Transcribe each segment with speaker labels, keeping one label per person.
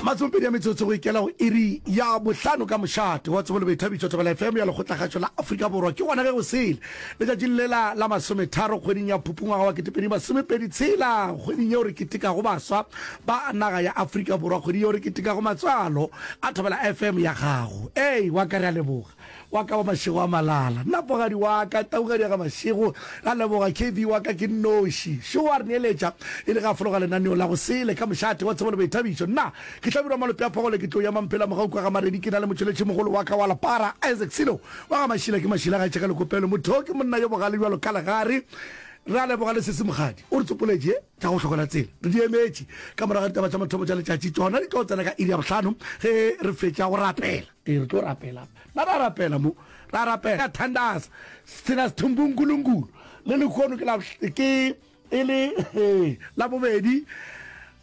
Speaker 1: Masomepedi a metsotso go ikela go iri ya bohlano ka mošate wa tsebo le boithabišo Thobela FM ya Lekgotlakgašo la Afrika Borwa. Ke gona ge go sele letšatšing lela la masometharo kgweding ya Phupu ngwaga wa ketepedi tshela, kgweding yeo re ketekago baswa ba naga ya Afrika Borwa, kgwedi yeo re ketekago matswalo a Thobela FM ya gago. Ei, wa ka re a leboga. Wa ka wa mašego a malala. Nna pogadi wa ka, taugadi ya ga mašego. Ra leboga KV wa ka ke nnoši. Šo a re neeletša e le ge a fologa lenaneo la go sele ka mošate wa tsebo le boithabišo. Nna ke Hlabirwa Malope a Phogole ke tlo ya Mamphela Mogau kwa ga Maredi ke na le motšweletši mogolo wa ka wa lepara Isaac Silo wa ga Mašila ke Mašila ga etše ka lekopelo. Motho ke monna yo bogale bjalo ka legare. Ra leboga le Sesi Mokgadi o re tsopoletše tša go hlokola tsela. Re di emetše ka morago ga ditaba tša mathomo tša letšatši. Tšona di tlo tsena ka iri ya bohlano ge re fetša go rapela. Ee, re tlo rapela. Na ra rapela mo? Ra rapela. Thandaza. Sena sethumbu nkulunkulu. Le lehono ke la ke e le la bobedi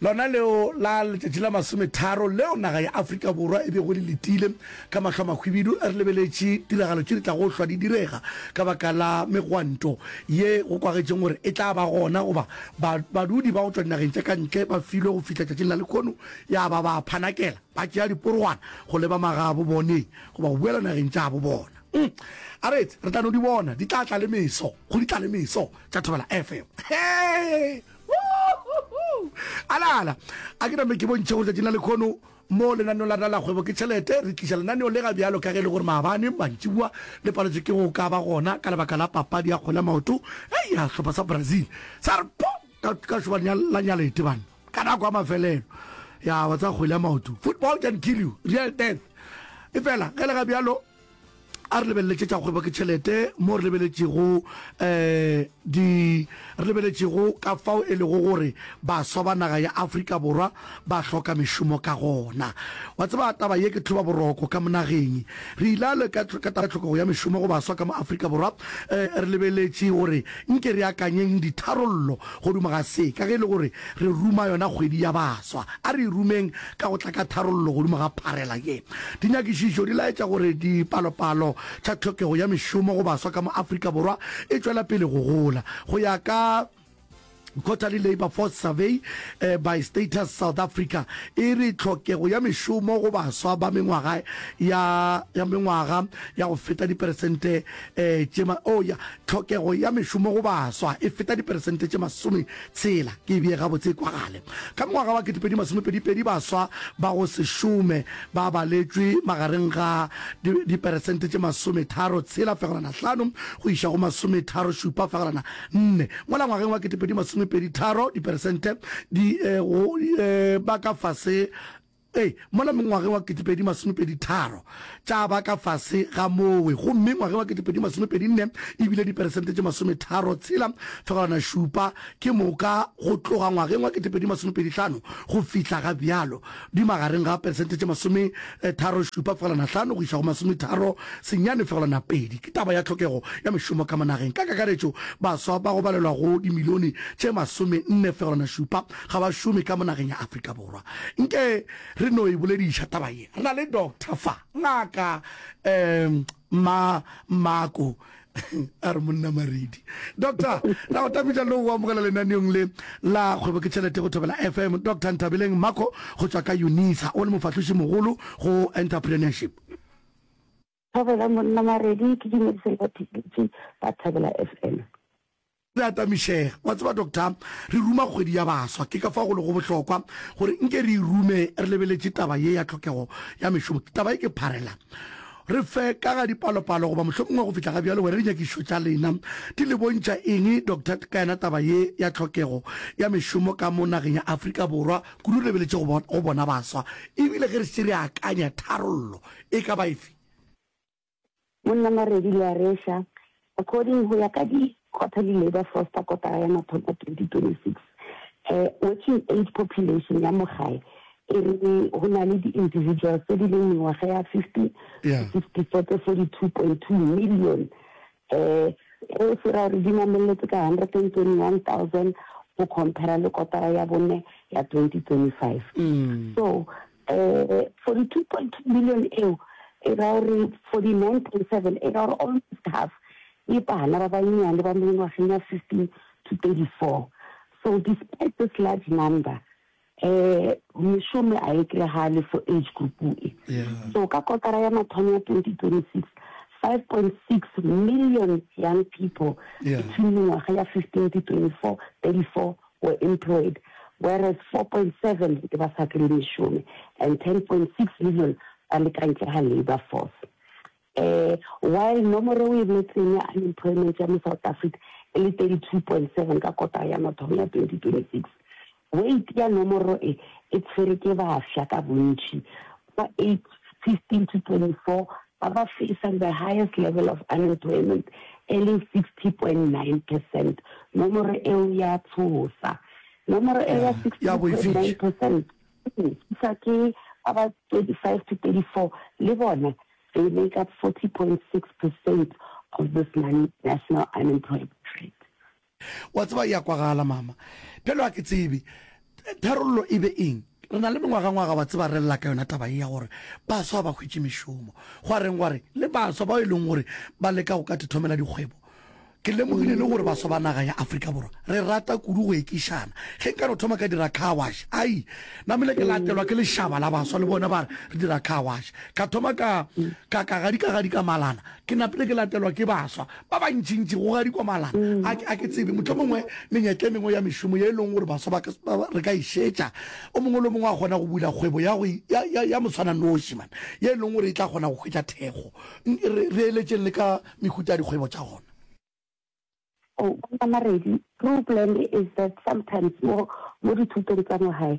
Speaker 1: lona leo la letšatši la masometharo leo naga ya Afrika Borwa e bego le letile ka mahlo a mahwibidu re lebeletše tiragalo tše di tlago hlwa di direga ka baka la megwanto ye go kwagetšeng gore e tla ba gona goba badudi ba go tšwa dinageng tša ka ntle ba filwe go fihla tšatšing la lehono ya ba ba phanakela Ba tšea diporogwana go leba magabo boneng goba go boela nageng tša bo bona. Mm. A re etse, re tla no di bona, di tla tla le meso, go di tla le meso tša Thobela FM. Hey! Woo-hoo-hoo! Alala, a ke name ke bontšhe gore tšatšing la lekhono mo lenaneong la rena la kgwebo ke tšhelete, re tliša lenaneo le ga bjalo ka ge e le gore maabane mantšiboa le paletšwe ke go ka ba gona ka lebaka la papadi ya kgwele ya maoto ya sehlopha sa Brazil sa re po ka ka šoba la nyalete banna. Ka nako ya mafelelo ya wa tsa kgwele ya maoto, football can kill you, real death. Efela ge le ga bjalo a re lebelele tše tša kgwebo ke tšhelete mo re lebeletšego um di re lebeletšego ka fao e lego gore baswa ba naga ya Afrika Borwa ba hloka mešomo ka gona. Wa tseba taba ye ke tlhoba boroko ka mo nageng. Re ile ka ka taba tlhokego ya mešomo go baswa ka mo Afrika Borwa um re lebeletše gore Nke re akanyeng ditharollo godimo ga se, ka ge e le gore re ruma yona kgwedi ya baswa. A re e rumeng ka go tla ka tharollo godimo ga pharela ye. Dinyakišišo di laetša gore dipalopalo tša tlhokego ya mešomo go baswa ka mo Afrika Borwa e tšwela pele go gola. Go ya ka Quarterly Labour Force Survey by Status South Africa e re tlhokego ya mešomo go baswa ba mengwaga ya ya mengwaga ya go feta diperesente tše ma, oh ya, tlhokego ya mešomo go baswa e feta diperesente tše masometshela, ke e bee gabotse e kwagale. Ka mongwaga wa 2022 baswa ba go se šome ba baletšwe magareng ga diperesente tše masometharo tshela fegelwana hlano go iša go masometharo šupa fegelwana nne, mola ngwageng wa 2023 diperesente di go ba ka fase Ee, mola ngwageng wa 2023 tša ba ka fase ga mowe, gomme ngwageng wa 2024 e bile diperesente tše masometharotshela fegelwana šupa, ke moka go tloga ngwageng wa 2025 go fihla ga bjalo di magareng ga peresente tše masometharošupa fegelwana hlano go iša go masometharo senyane fegelwana pedi. Ke taba ya tlhokego ya mešomo ka mo nageng. Ka kakaretšo, baswa ba go balelwa go dimilione tše masomenne fegelwana šupa ga ba šome ka mo nageng ya Afrika Borwa. Nke re no e bolediša taba ye. Re na le doctor fa, ngaka um ma Mako a re monna Maredi. Doctor, ra go tapiša le go amogela lenaneong le la kgwebo ke tšhelete go Thobela FM. Doctor Nthabeleng Mako go tšwa ka Unisa, o le mofahloši mogolo go entrepreneurship.
Speaker 2: Thobela monna Maredi, ke dumedise le batheeletši ba Thobela FM.
Speaker 1: Re atamišega. Wa tseba, Doctor, re ruma kgwedi ya baswa. Ke ka fao go lego bohlokwa gore nke re e rume re lebeletše taba ye ya tlhokego ya mešomo. Taba ye ke pharela. Re fe ka ga dipalopalo goba mohlomongwe go fihla ga bjalo wena dinyakišišo tša lena di le bontšha eng, Doctor, ka yona taba ye ya tlhokego ya mešomo ka mo nageng ya Afrika Borwa, kudu re lebeletše go bona baswa. Ebile ge re šetše re akanya tharollo e ka ba efe?
Speaker 2: Monna Maredi le a reša, According go ya ka di Quarterly Labour Force tsa kotara ya mathomo 2026, eh, working age population ya mo gae e re go na le di individuals tse di leng mengwaga ya 50 to 64 tse 42.2 million, eh, e se ra gore di nameletse ka 121,000 go compare le kotara ya bone ya 2025. So, eh, 42.2 million eo e ra gore 49.7 e ra gore almost half ke bana ba bannyane ba mengwageng ya 15 to 34. So despite this large number, Um mešomo a e kregale for age group e. So ka kotara ya mathomo ya 2026, 5.6 million young people between mengwaga ya 15 to 24, 34 were employed, whereas 4.7 e ba sa kry-e mešomo and 10.6 million ba le ka ntle ga labour force. Um while nomoro o e boletseng ya unemployment ya mo South Africa e le 32.7 ka kotara ya mathomo ya 2026, weight ya nomoro e e tshwere ke bafsa ka bontši ba age 15 to 24 ba ba facang the highest level of unemployment e leng 60.9 percent. Nomoro eo ya tshosa. Nomoro eo ya 60.9 percent e thusa ke ba ba 25 to 34 le bona They make up 40.6 percent of this national unemployment rate.
Speaker 1: Wa tseba, e a kwagala, mama. Bjalo ga ke tsebe tharollo e be eng. Re na le mengwagangwaga, wa tseba, re lla ka yona taba ye ya gore baswa ba hwetše mešomo. Gwa reng gwa re le baswa bao e leng gore ba leka go ka thomela dikgwebo, Ke lemogile le gore baswa ba naga ya Afrika Borwa re rata kudu go ekišana. Ge nka no thoma ka dira car wash, ai, namile ke latelwa ke lešaba la baswa le bona ba re re dira car wash. Ka thoma ka, ka, ka gadika gadika malana, ke napile ke latelwa ke baswa ba bantšintši go gadikwa malana. A ke, a ke tsebe, mohlomongwe menyetla e mengwe ya mešomo ye e leng gore baswa ba ka, ba, re ka e šetša, o mongwe le o mongwe a kgona go bula kgwebo ya go, ya, ya, ya moswananoši, man, ye e leng gore e tla kgona go hwetša thekgo. Re, re eletšeng le ka mehuta ya dikgwebo tša gona.
Speaker 2: Oh, Mama Maredi, problem is that sometimes mo mo dithutong tsa mo gae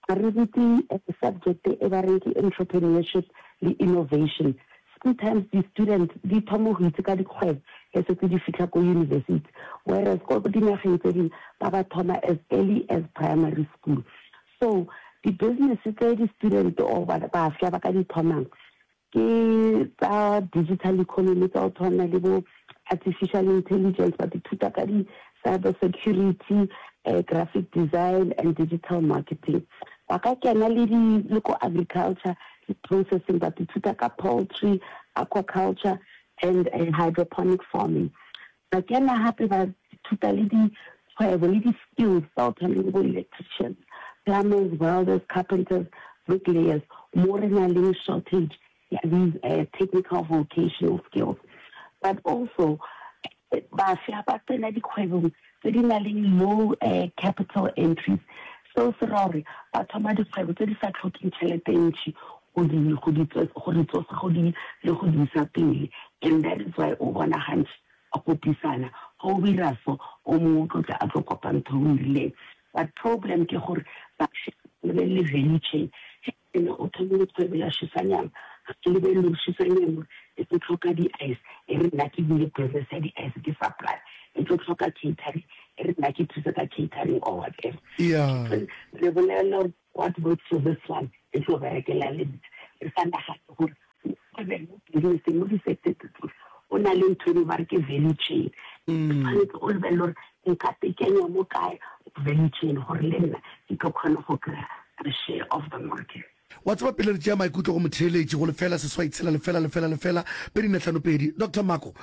Speaker 2: ga re rute eh, subject e ba reng ke entrepreneurship le innovation. Sometimes di-student di thoma go itse ka dikgwebo ge setse di fitlha ko university, whereas ko dinageng tse dingwe ba ba thoma as early as primary school. So di-business tse di-student or bafsa ba ka di thomang Ke tsa digital economy tsa go tshwana le bo artificial intelligence, ba ithuta ka di-cyber security, graphic design and digital marketing. Ba ka kena le di le ko agriculture le processing, ba ithuta ka poultry, aquaculture and hydroponic farming. Ba kena gape ba ithuta le dikgwebo le di-skills tsa go tshwana le bo electricians, plumbers, welders, carpenters, bricklayers, mo re nang le shortage ya these technical vocational skills. But also bafsa ba tsena dikgwebong tse di nang le low capital entries, seo se ra gore ba thoma dikgwebo tse di sa tlhokeng tšhelete e ntši go di go di go di tsosa go di le go di isa pele and that is why o bona gantši ba kopisana ge o dira so o mongwe o tlo tla a tlo kopa ntho e o e rileng but problem ke gore ba lebelele value chain ge ene o thomile kgwebo ya šisanyama ga ke lebelele gore šisanyama e tlo tlhoka di-ice e re nna ke bule business ya di-ice ke supply e tlo tlhoka catering e re nna ke thuse ka catering or whatever
Speaker 1: Yeah.
Speaker 2: re bolelela gore What works for this one e tlo berekela le nna. Re sa nagane gore mo kgwebeng, mo business-eng, mo di-sector tse tsohle go na le ntho e ba re ke value chain. O tshwanetse o lebelele gore nka tekenya mo kae value chain gore le nna ke tlo kgona go kry-a a share of the market.
Speaker 1: Wa tseba, pele re tšea maikutlo go motheeletši go lefela seswai tshela lefela lefela lefela pedi nne hlano pedi, Doctor Mako,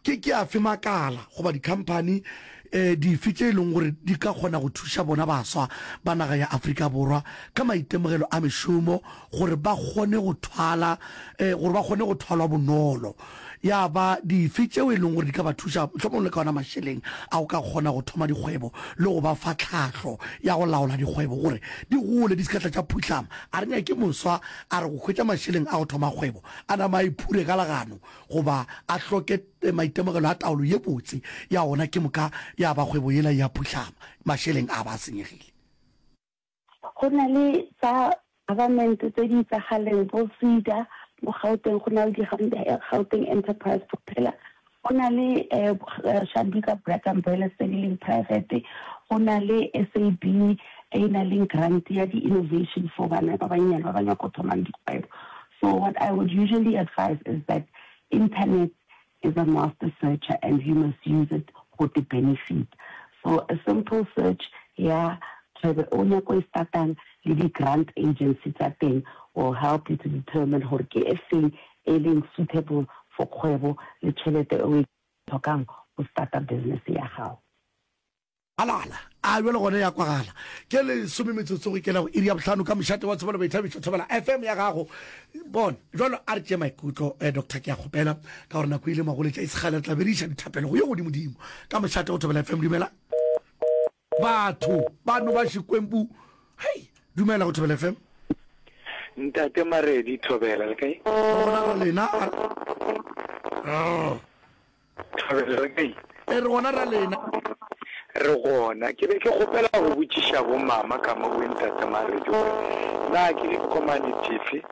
Speaker 1: Ke, ke afe makala goba dikhamphani eh, dife tše e leng gore di ka kgona go thuša bona baswa ba naga ya Afrika Borwa ka maitemogelo a mešomo gore ba kgone go thwala eh, gore ba kgone go thwalwa bonolo? Ya ba dife tšeo e leng gore di ka ba thuša mohlomong le ka ona mašeleng a go ka kgona go thoma dikgwebo le go ba fa tlhahlo ya go laola dikgwebo gore di gole di se ka tla tša phuhlama? A re nyake moswa a re go hwetša mašeleng a go thoma kgwebo a nama a iphure ka legano goba a hloke maitemogelo a taolo ye botse ya ona ke moka ya ba kgwebo yela e a phuhlama, mašeleng a ba a senyegile.
Speaker 2: Go na le tsa government tse di itsagaleng bo SEDA mo Gauteng, go na le di Gauteng Enterprise Propeller, go na le Shanduka Black Umbrellas tse di leng private, go na le SAB e e nang le grant ya di-innovation for bana ba bannyane ba ba nyaka go thomang dikgwebo. So what I would usually advise is that internet is a master searcher and you must use it go te benefit. So a simple search ya kgwebo e o nyako e startang le di grant agency tsa teng will help you to determine gore ke e feng e leng suitable for kgwebo le tšhelete e o e tlhokang go starta business ya gago.
Speaker 1: Alala, a bjale gona ya kwagala. Ke lesome metsotso go ikela go iri ya bohlano ka mošate wa tsebo le boithabišo Thobela FM ya gago. Bona, jwalo a re tšee maikutlo, eh, Doctor, ke a kgopela, ka gore nako e ile magoletša e se kgale re tla be re iša dithapelo go yo godimodimo. Ka mošate go Thobela FM, dumela. Batho ba no ba Xikwembu. Hei, dumela go Thobela FM.
Speaker 3: Ntate Maredi, Thobela, le kae?
Speaker 1: Re gona ra lena. A.
Speaker 3: Thobela, re kae?
Speaker 1: E, re gona ra lena.
Speaker 3: Re gona. Ke be ke kgopela go botšiša bo mama ka mo bo ntate Maredi gore na ke ditokomane dife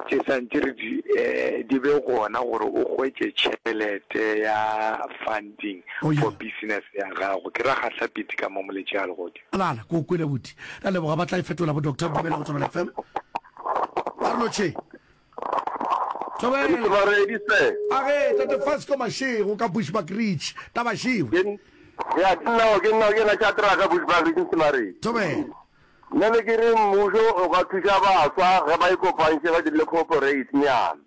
Speaker 3: tše santše re di di be gona gore o hwetše tšhelete ya funding
Speaker 1: Oh, yeah.
Speaker 3: for business ya gago. Ke ra Gahlapiti ka mo Moletši a Legodi.
Speaker 1: Alala, ke o kwele buti. Ra leboga ba tla e fetola bo Doctor Dumela go Thobela FM. Ba re lotšhe. Thobela.
Speaker 4: Mothobaredi se.
Speaker 1: A ge Tate Fasco Mashego ka Bushbuckridge, taba šewe.
Speaker 4: Ke ya ke nna ke nna ke na Shadraka Bushbuckridge Mothobaredi.
Speaker 1: Thobela.
Speaker 4: Nna ne ke re mmušo o ka thuša baswa ge ba ikopantše ba dirile cooperate nyana.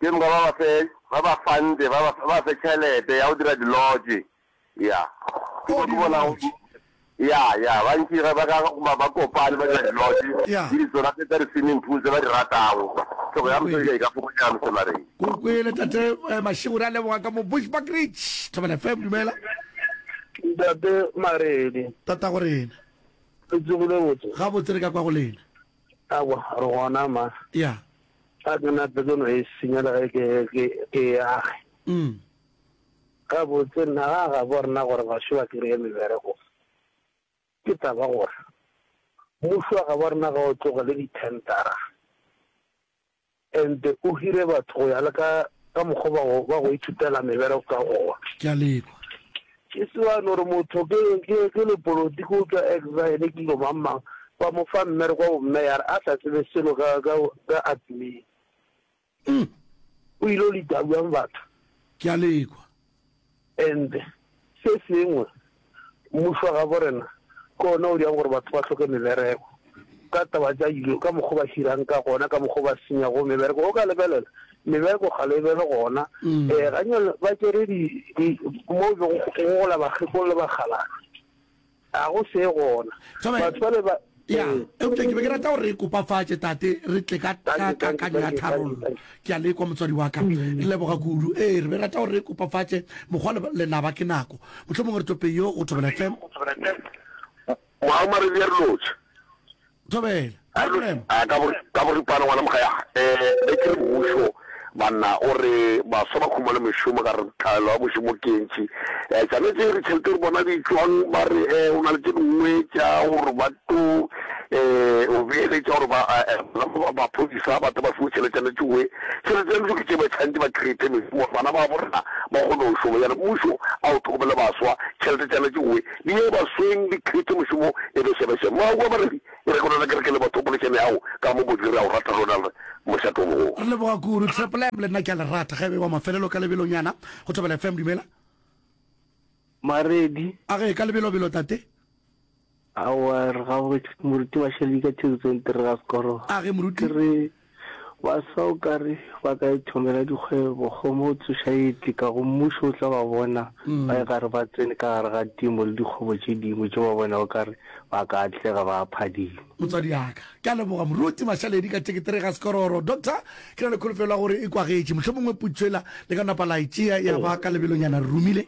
Speaker 4: Ke moka ba ba fe ba ba funde ba ba ba fe tšhelete ya go dira di lodge. Ya. Ke
Speaker 1: Oh,
Speaker 4: mo ke bonago
Speaker 1: di-lodge.
Speaker 4: Ya, ya, bantši ge ba ka ba, ba kopane ba dira di-lodge
Speaker 1: Ya.
Speaker 4: le ditsona tse tsa di-swimming pool tse ba di ratago. Tlhoko ya mosadi e ka fokotšega Msemareng.
Speaker 1: Ko kwele tate eh, Mashego re a leboga ka mo Bushbuckridge. Thobela FM dumela.
Speaker 5: Ntate Maredi.
Speaker 1: Tatago rena.
Speaker 5: Le tsogile botse?
Speaker 1: Gabotse re ka kwa go lena.
Speaker 5: Aowa, re gona ma.
Speaker 1: Ya.
Speaker 5: A ke nape ke no e senya le ge ke, ke, ke e age.
Speaker 1: Mm.
Speaker 5: Gabotse nna ga gabo rena gore bašo ba kereye mebereko ke taba gore mmušo wa gabo rena ga o tlogele di-tendera and o hire batho go ya le ka ka mokgwa ba go ba go ithutela mebereko ka gona.
Speaker 1: Ke a lekwa.
Speaker 5: Ke se wa no re motho ke ke ke lepolotiki o tšwa exile ke dilo mang mang ba mo fa mmereko wa bommeyara a sa tsebe selo ka ka ka admin.
Speaker 1: Umm.
Speaker 5: O ile o lita bjang batho?
Speaker 1: Ke a le kwa.
Speaker 5: And se sengwe, mmušo wa gabo rena ke ona o dirang gore batho ba hloke mebereko ka taba tša dilo, ka mokgwa ba hirang ka gona, ka mokgwa ba senyago mebereko. O ka lebelela, mebereko kgale e be le gona. Um ganyane ba tšere di, di, mo be go gola bakgekolo le bakgalabje. A go se gona.
Speaker 1: Thobela.
Speaker 5: Batho bale ba.
Speaker 1: Ya,
Speaker 5: Ee.
Speaker 1: eupša ke be ke rata gore re kopafatše, Tate, re tle ka,
Speaker 5: Thank
Speaker 1: ka
Speaker 5: you, thank you,
Speaker 1: kakanyo ya
Speaker 5: thank you, thank you,
Speaker 1: tharollo.
Speaker 5: thank you.
Speaker 1: Ke a le kwa, motswadi wa ka. Re leboga kudu. Ee, re be re rata gore re kopafatše. Mokgwa le, lenaba ke nako. Mohlomongwe re tope yo go Thobela FM.
Speaker 4: Moago Maredi a re lotšhe.
Speaker 1: Thobela.
Speaker 4: A re
Speaker 1: Problem.
Speaker 4: A ka bo ka boripana ngwana mogaya eh be ke re mmušo banna o re baswa ba khumane mešomo ka re tlhaelo ya mošomo ke e ntši eh tšane tše re tšhelete re bona di tšwang ba re eh o na le tše dingwe tša gore ba tlo eh o beeletša gore ba eh ba maphodisa ba tle ba fiwe tšheletšana tšewe tšheletšana tšeo ke tše ba tshwanetse ba create mešomo gore bana ba bo rena ba kgone go šoma jale mmušo a o tlhokomele baswa tšhelete tšana tšewe di ye basweng di create mošomo e be šebešebe moago wa baredi E re ke lona kereke le batho polešane yago ka mo bodile re a o rata rona re mošate o mogolo.
Speaker 1: Re leboga kudu Triple M le nna ke a le rata ge e be wa mafelelo ka lebelonyana go Thobela FM dumela.
Speaker 6: Maredi.
Speaker 1: A ge ka lebelobelo tate.
Speaker 6: Aowa re gabotse moruti Mashaledi ka thekisong tere ga sekoro.
Speaker 1: A ge moruti.
Speaker 6: Ke re baswa o ka re ba ka ithomela dikgwebo kgomo o tsoša e tle ka go mmušo o tla ba bona ba e gare ba tsene ka gare ga temo le dikgwebo tše dingwe tše ba bona o ka re ba ka atlega ba phadima.
Speaker 1: Motswadi ya ka. Ke a leboga Moruti Mashaledi ka tekete ga Sekororo. Doctor, ke na le kholofelo ya gore e kwagetše. Mohlomongwe potšo ela le ka napa la e tšea ya ba ka lebelonyana re romile.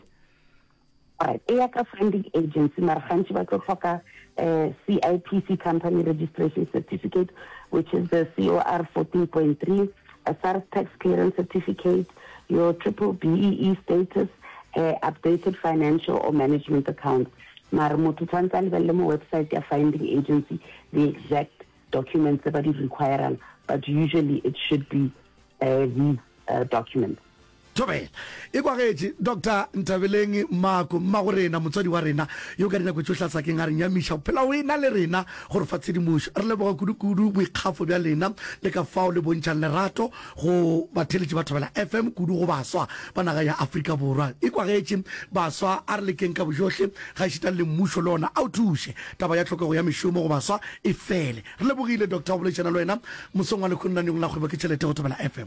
Speaker 2: Alright, e ya ka funding agency mara gantši ba tlo hloka eh, CIPC company registration certificate which is the COR 14.3, a SARS tax clearance certificate, your triple BEE status, eh, updated financial or management accounts. Mara motho tshwanetse a lebelele mo website ya finding agency the exact documents tse ba di requirang but usually it should be uh, these uh, documents.
Speaker 1: Thobela. E kwagetše, Doctor Nthabeleng Mako, mmago rena, motswadi wa rena, yo ka dinako tšohle a sa keng a re nyamiša, o phela o e na le rena go re fa tshedimošo. Re leboga kudu-kudu boikgafo bja lena le ka fao le bontšhang lerato go batheeletši ba Thobela FM, kudu go baswa ba naga ya Afrika Borwa. E kwagetše, baswa, a re lekeng ka bojohle, gaešita le mmušo le ona a o thuše, taba ya tlhokego ya mešomo go baswa e fele. Re lebogile, Doctor, go boledišana le wena mosong wa lehono lenaneong la Kgwebo ke Tšhelete go Thobela FM.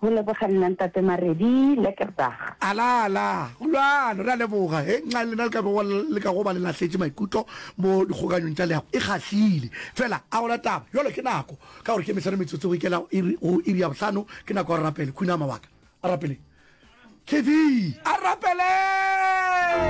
Speaker 2: Go leboga nna Ntate Maredi, lekker dag.
Speaker 1: Ala ala, go bjalo, re a leboga. He, nxa lena le ka bego le ka go ba le lahletše maikutlo mo dikgokanyong tša leago, e kgahlile. Fela, a gona taba. Bjalo ke nako, ka gore ke mehlano metsotso go ikela iri, go iri ya bohlano, ke nako ya go rapele. Khunama wa ka. A rapeleng. KV, a rapeleng!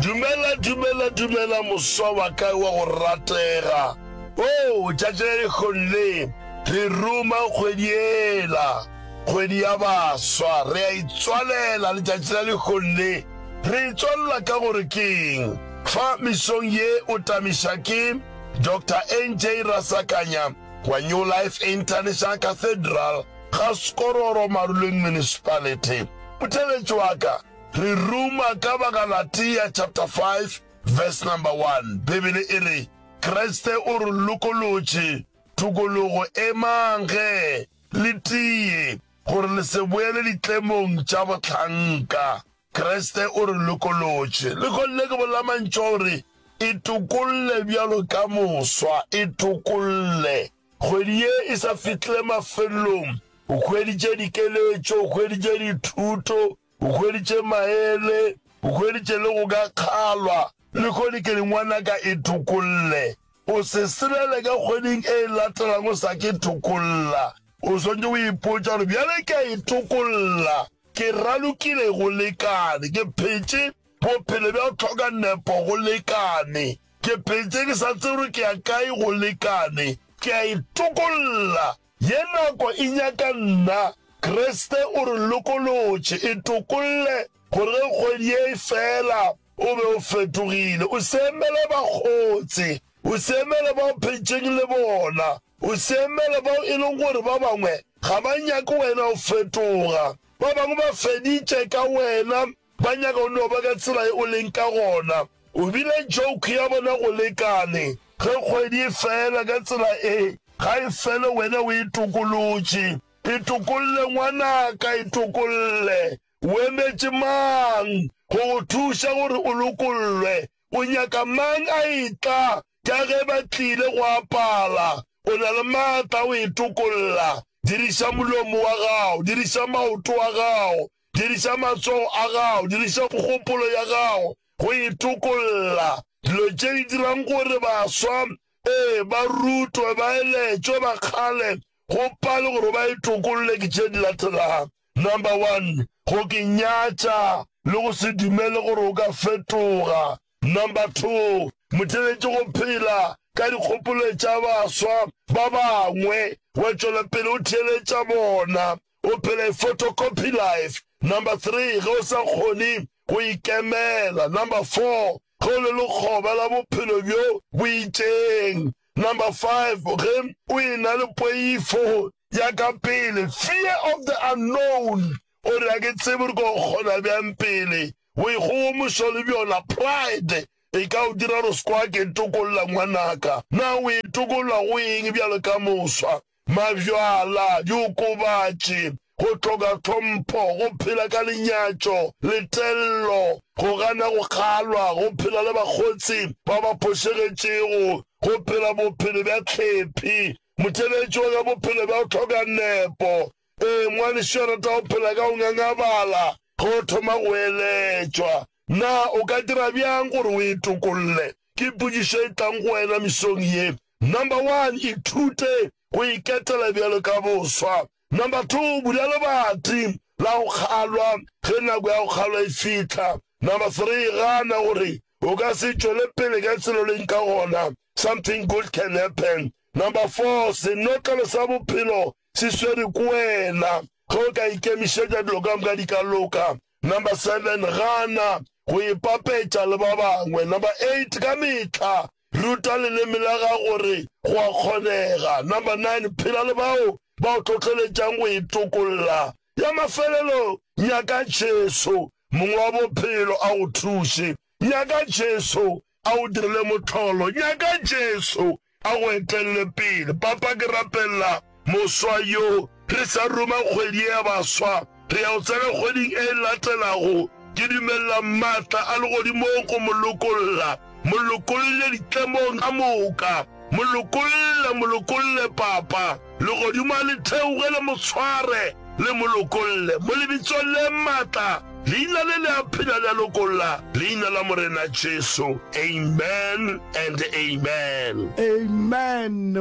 Speaker 7: Dumela, dumela, dumela, moswa wa ka wa go ratega. Oo, tšatši la lehono le, re ruma kgwedi yela, kgwedi ya baswa. Re a itswalela letšatši la lehono le. Re itswalela ka gore keng? Fa mesong ye o tamiša ke Doctor NJ Rasakanya wa New Life International Cathedral ga Skororo Maruleng Municipality. Motheeletši wa ka, re ruma ka Bagalatia chapter 5 verse number 1. Bibele e re, Kriste o re lokolotše tokologo, emang ge, le tie, gore le se boele ditlemong tša bohlanka. Kriste o re lokolotše. Lehono le ke bolela mantšu a gore, Itokolle bjalo ka moswa, itokolle. Kgwedi ye e sa fihlile mafelelong, o hweditše dikeletšo, o hweditše dithuto, o hweditše maele, o hweditše le go ka kgalwa. Lehono ke re ngwanaka itokolle. O se selele ka kgweding e e latelago o sa ke tokolla. O swanetše go ipotša gore bjale ke a itokolla. Ke ralokile go lekane. Ke phetše bophelo bja go hloka nepo go lekane. Ke phetše ke sa tsebe gore ke ya kae go lekane. Ke a itokolla. Ye nako e nyaka nna. Kriste o re lokolotše. Itokolle gore ge kgwedi ye e fela o be o fetogile. O se emele bakgotse. O se emele ba o phetšeng le bona. O se emele bao e leng gore ba bangwe ga ba nyake wena o fetoga. Ba bangwe ba feditše ka wena, ba nyaka o no ba ka tsela ye o leng ka gona. O bile joke ya bona go lekane. Ge kgwedi e fela ka tsela e, ga e fele wena o e tokolotše. E tokolle ngwanaka, e tokolle. O emetše mang go go thuša gore o lokollwe? O nyaka mang a etla ka ge ba tlile go apala? O na le maatla a go itokolla. Diriša molomo wa gago, diriša maoto a gago, diriša matsogo a gago, diriša kgopolo ya gago go itokolla. Dilo tše di dirang gore baswa, ee, ba rutwe, ba eletšwe, ba kgale, go pale gore ba itokolle ke tše di latelago. Number one, go ke nyatša le go se dumele gore o ka fetoga. Number two, motheeletši go phela ka dikgopolo tša baswa ba bangwe, wa tšwela pele o theeletša bona, o phela a photocopy life. Number three, ge o sa kgone go ikemela. Number four, ge o le lekgoba la bophelo bjo bo itšeng. Number 5, ge o e-na le poifo ya ka pele, fear of the unknown, o re, Ga ke tsebe gore ke o kgona bjang pele. Boikgogomošo le bjona, pride, e ka o dira gore o se ke wa ke tokolla ngwanaka. Na o itokolla go eng bjalo ka moswa? Mabjala, diokobatši, go hloka tlhompho, go phela ka lenyatšo, letello, go gana go kgalwa, go phela le bakgotsi ba ba phošegetšego, go phela bophelo bja hlephi, motheeletši wa ka bophelo bja go hloka nepo. Ee, ngwanešu a rata go phela ka go ngangabala ge o thoma go eletšwa. Na o ka dira bjang gore o itokolle? Ke potšišo e tlang go wena mesong ye. Number one, ithute go iketela bjalo ka boswa. Number two, bula lebati la go kgalwa ge nako ya go kgalwa e fihla. Number three, gana gore o ka se tšwele pele ka tsela o leng ka gona. Something good can happen. Number four, senotlelo sa bophelo se swere ke wena. Ge o ka ikemišetša dilo ka moka di ka loka. Number seven, gana go ipapetša le ba bangwe. Number eight, ka mehla ruta leleme la gago gore go a kgonega. Number nine, phela le bao ba o hlohleletšang go itokolla. Ya mafelelo, nyaka Jesu, Mong wa bophelo, a go thuše. Nyaka Jesu a o direle mohlolo. Nyaka Jesu a go etelle pele. Papa, ke rapelela moswa yo. Re sa ruma kgwedi ye ya baswa. Re ya go tsena kgweding e latelago. Ke dumelela maatla a legodimong go mo lokolla. Mo lokolle ditlemong ka moka. Mo lokolle, mo lokolle, Papa. Legodimo a le theoge le mo tshware, le mo lokolle. Mo lebitsong le matla, Leina le le a phela le a lokolla, Leina la Morena Jesu. Amen and amen.
Speaker 1: Amen.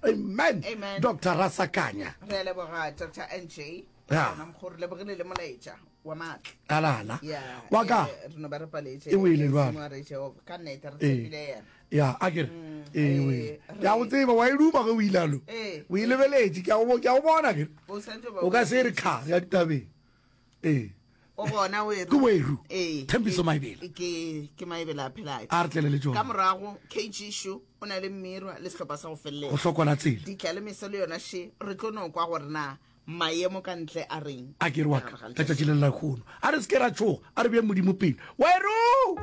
Speaker 1: Amen.
Speaker 8: Amen.
Speaker 1: Doctor Rasakanya.
Speaker 8: Re a leboga Doctor NJ.
Speaker 1: Ya.
Speaker 8: Gona mokgwa re lebogile le molaetša wa maatla.
Speaker 1: Alala.
Speaker 8: Ya.
Speaker 1: Wa ka.
Speaker 8: eh, Re no ba re paletše.
Speaker 1: E wele jwale.
Speaker 8: Modimo a re Jehova. Ka nnete re
Speaker 1: Ee.
Speaker 8: tshepile yena.
Speaker 1: Ya, a ke re. Ee,
Speaker 8: eh,
Speaker 1: wele. Ke a go tseba wa e duma ge o ile alo.
Speaker 8: Ee.
Speaker 1: O e lebeletše ke a go ke a go bona ke.
Speaker 8: O santse ba
Speaker 1: O ka se re kha ya ditabeng. Ee.
Speaker 8: O gona o
Speaker 1: Ke weru.
Speaker 8: Ee.
Speaker 1: Thembiso
Speaker 8: Ke-
Speaker 1: Maebela.
Speaker 8: Ke ke Maebela a phelayo.
Speaker 1: A re tlele le
Speaker 8: Ka
Speaker 1: tšona.
Speaker 8: morago KG Shu o na le Mmirwa le sehlopha sa go
Speaker 1: Go
Speaker 8: feleletša.
Speaker 1: hlokola tsela.
Speaker 8: Ditla le meso le yona she re tlo no kwa gore na maemo ka ntle a reng.
Speaker 1: A ke re wa ka letšatši le la kgono. A re se ke ra tšhoga, a re bee Modimo pele. Weru!